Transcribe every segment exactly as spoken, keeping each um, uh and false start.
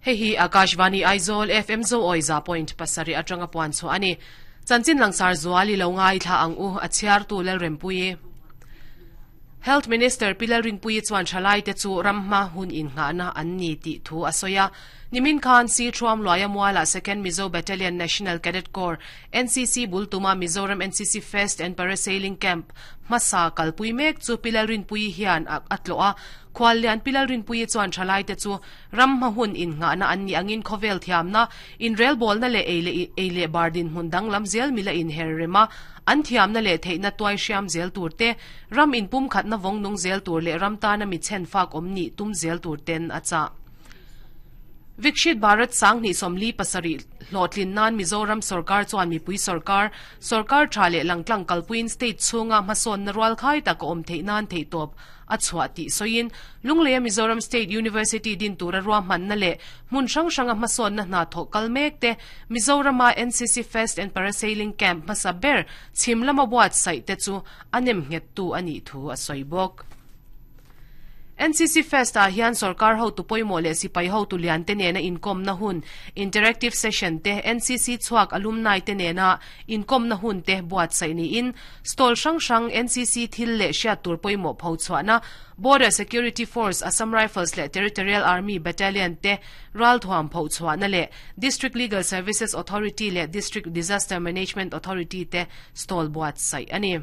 Hei hi Akashvani Aizawl F M zo oi za point pasarih atanga puan chu ani. Chanchin langsar zuali lo ngai thla ang u, a chhiar tu lel rempui. Health Minister Pilal Rinpui chuan thalai te chu ramma hun in nga na an ni ti thu asoya. Nimin khan si thuam loya muala Second Mizo Battalion National Cadet Corps N C C Bultuma Mizoram N C C Fest and Parasailing Camp masa kalpui mek chu Pilal Rinpui hian atlo a. Khwallian Pilal Rinpui chuan thalai te chu ramma hun in nga na an ni angin khovel thiam na in rel bol na le eile eile bardin hun dang lam zel mila in her rema an thiam na le theina tuai hriam zel tur te, ram in pum khat na vong nung zel tur le ram ta na mi chen fak om ni tum zel tur ten acha. Vikshit Bharat sang ni somli pasari hlotlin nan Mizoram Sarkar chuan mipui sarkar, sarkar tha le langtlang kalpuin state chunga mason na rual khai tak om thei nan thei top a chhuah ti soin. Lunglei Mizoram State University din tura ruwa man na le mun hrang hranga hmasawn na hna thawh kal mek te, Mizorama N C C Fest and Parasailing Camp hmasa ber chhim lama buat saih te chu anem nghet tu ani thu a sawi bawk. N C C Fest a hian sarkar ho tu poimo le sipai ho tu lian te nena inkom na hun interactive session te, N C C chuak alumni te nena inkom na hun te buat sai ni in stall hrang hrang N C C thil le hriat tur poimo pho chuana, Border Security Force, Assam Rifles le Territorial Army Battalion te ral thuam pho chuana le District Legal Services Authority le District Disaster Management Authority te stall buat sai ani.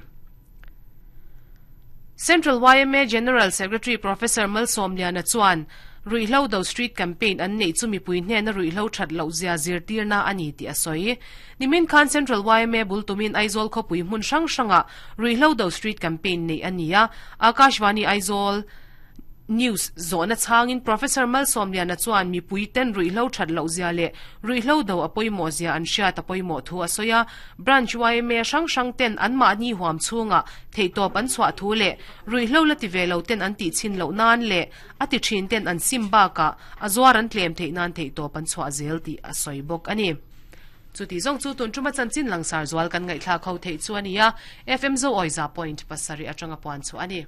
Central Y M A General Secretary Professor Malsom Liana chuan ruihlo do street campaign an nei chu mipui hne na ruihlo that lo zia zir tir na ani ti asoi. Nimin khan Central Y M A bultumin Aizawl khopui hmun hrang hranga ruihlo do street campaign nei ania. Akashvani Aizawl News zona changin Professor Malsom Liana chuan mipui ten ruihlo that lo zia le ruihlo do apoimo zia an hriat apoimo thu asoya. Branch Y M A hrang hrang ten an ma ni huam chunga theitop an chhuah thu le ruihlo la ti velo ten an ti chin lo nan le ati thin ten an sim ba ka azuar an tlem thei nan theitop an chhuah zel ti asoi bok ani. Chuti zong chu tun chuma chanchin langsar zual kan ngai thla kho thei chu ania. F M zo oiza point pasari atanga puan chu ani.